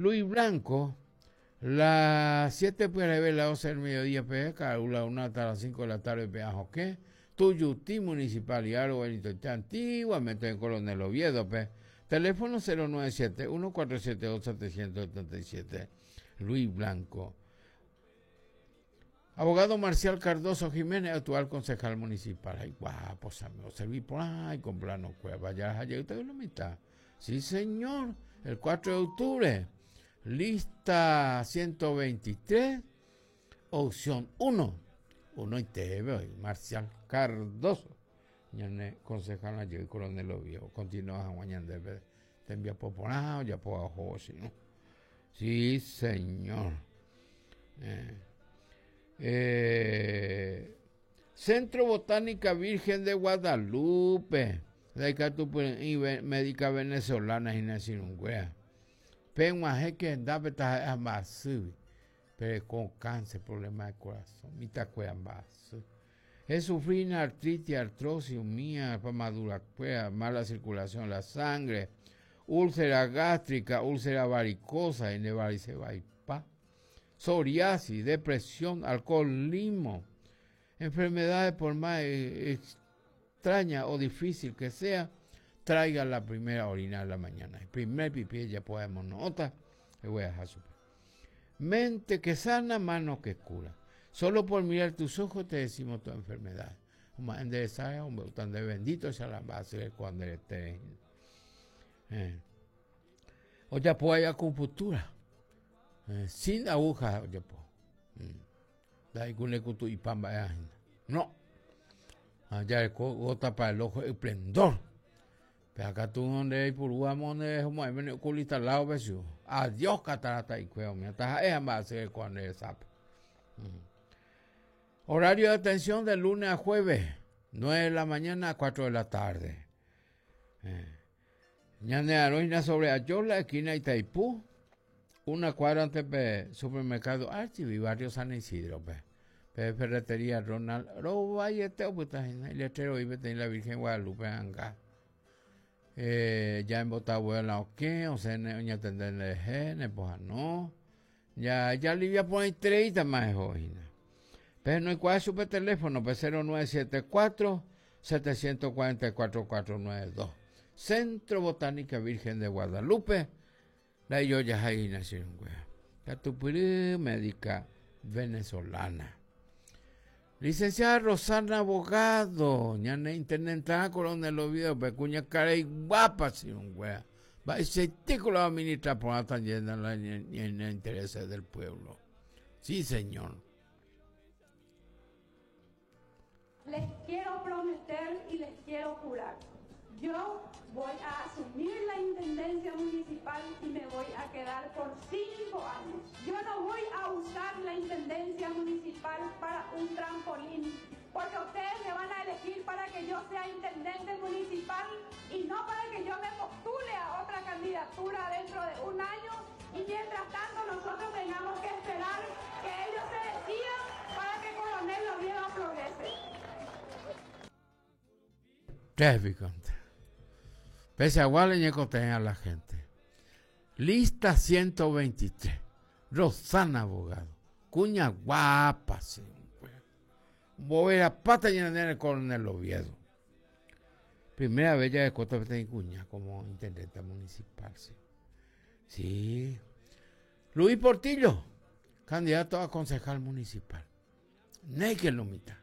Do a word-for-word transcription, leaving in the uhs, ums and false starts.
Luis Blanco, las siete P R B, las doce del mediodía, P, la una hasta las cinco de la tarde, P, Joque, Tuyutí, Municipalidad, Benito, antiguamente en Coronel Oviedo, P. Teléfono cero nueve siete uno cuatro siete dos setecientos setenta y siete. Luis Blanco. Abogado Marcial Cardoso Jiménez, actual concejal municipal. Ay, guapo, amigo, serví por ahí con plano cueva. Ya ayer usted la mitad. Sí, señor. El cuatro de octubre. Lista ciento veintitrés, opción uno. Uno y T V, Marcial Cardoso. Ñane concejal ayer, Coronel Oviedo. Continúa mañana te envía por ya por abajo, ¿no? Sí, señor. Eh. Eh, Centro Botánica Virgen de Guadalupe. De médica venezolana Inés. Penguaje que pero con cáncer, problema de corazón, es sufrir artritis, artrosis, mía, madura, mala circulación de la sangre, úlcera gástrica, úlcera varicosa, psoriasis, depresión, alcoholismo, enfermedades por más extraña o difícil que sea, traiga la primera orina de la mañana. El primer pipí ya podemos nota, le voy a dejar su mente que sana, mano que cura. Solo por mirar tus ojos te decimos tu enfermedad. Hombre, bendito sea la base cuando esté. Eh. O ya puede acupuntura. Eh, sin aguja, oye, po. Mm. No. Allá gota para el ojo, esplendor. Pero acá tú donde hay por donde como hay oculista al lado. Adiós catarata y cueo, mira, es cuando es mm. Horario de atención de lunes a jueves, nueve de la mañana a cuatro de la tarde. Eh. Ñane Aroina sobre Ayola, esquina Itaipú, una cuadra antes de supermercado Archivo y barrio San Isidro. Pe. Pe ferretería Ronald Roba y este el letrero y la Virgen Guadalupe anga. Eh, ya en Botagüe la oque, o sea, ne atender el pues no. Ya, ya Livia pone treinta más hoy. Pero no hay cuál es su teléfono, pues cero nueve siete cuatro setecientos cuarenta y cuatro cuatrocientos noventa y dos. Centro Botánica Virgen de Guadalupe. La yo ya ahí nacieron, güey. Médica venezolana. Licenciada Rosana Abogado, ñane intendenta Coronel Oviedo, pecuña cara y guapa, sí, güey. Va ese tico la va a ministrar por la llena en el interés del pueblo. Sí, señor. Les quiero prometer y les quiero jurar. Yo voy a asumir la intendencia municipal y me voy a quedar por cinco años. Yo no voy a usar la intendencia municipal para un trampolín, porque ustedes me van a elegir para que yo sea intendente municipal y no para que yo me postule a otra candidatura dentro de un año y mientras tanto nosotros tengamos que esperar que ellos se decidan para que Coronel Oviedo progrese. Tráfico. Pese a a la gente. Lista ciento veintitrés. Rosana Abogado. Cuña guapa, sí. Bovera pata llena el Coronel Oviedo. Primera vez ya de Costa de Cuña como intendente municipal, sí. Sí. Luis Portillo, candidato a concejal municipal. Neque lo mitad.